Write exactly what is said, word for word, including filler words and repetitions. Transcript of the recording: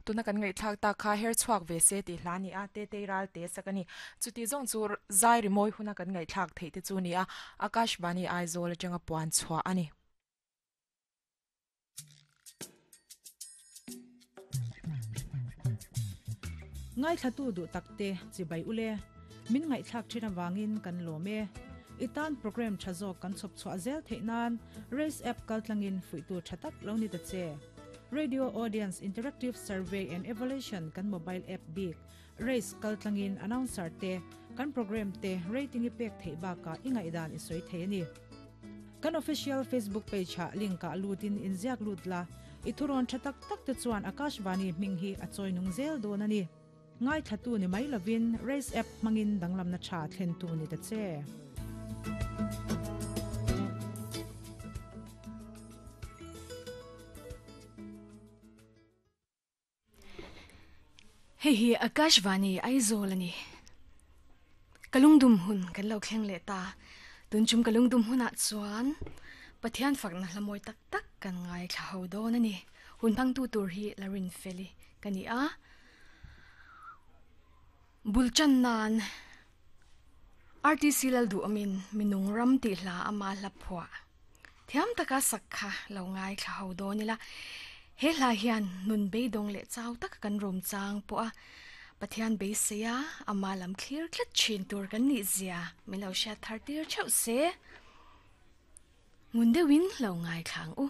Tuna kan ngai thak ta kha her chuak ve se ti hlani a te te ral te sakani chuti zong chu zai ri moi huna kan ngai thak thei te chu ni a Akashvani Aizawl atanga puan chhuwa ani. Ngai thlatu du takte chibai ule min ngai thlak thina wangin kan lome itan program thazo kan chop chwa zel theinan race app kaltlangin fuitu thatak lo ni ta che. Radio Audience Interactive Survey and Evaluation kan mobile app big race kaltlangin announcer te kan program te rating ipek thei ba ka ingai dan isoi thei ani. Kan official Facebook page ha link ka lutin inziak lutla ithuron thatak tak te chuan Akashvani minghi achoi nung zel don ani. Ngai thatu ni mai lovin race app mangin danglam na cha thlen tu ni ta che. Hei hi Akashvani Aizawl ani. Kalungdum hun kan lo thleng le ta. Tun chum kalungdum huna chuan Pathian fakna hlamoi tak tak kan ngai thla ho don ani. Hun phang tu tur hi Larin Feli kani a. Bulchan nan R T C lal du amin minung ram ti hla ama hla phwa. Thiam taka sakha lo ngai thla ho don ila. He hla hian nun beidong le chau tak kan rom chang po a Pathian be seya ama lam clear klat chin tur kan ni zia min lo sha thar tir chau se ngunde win lo ngai thlang u.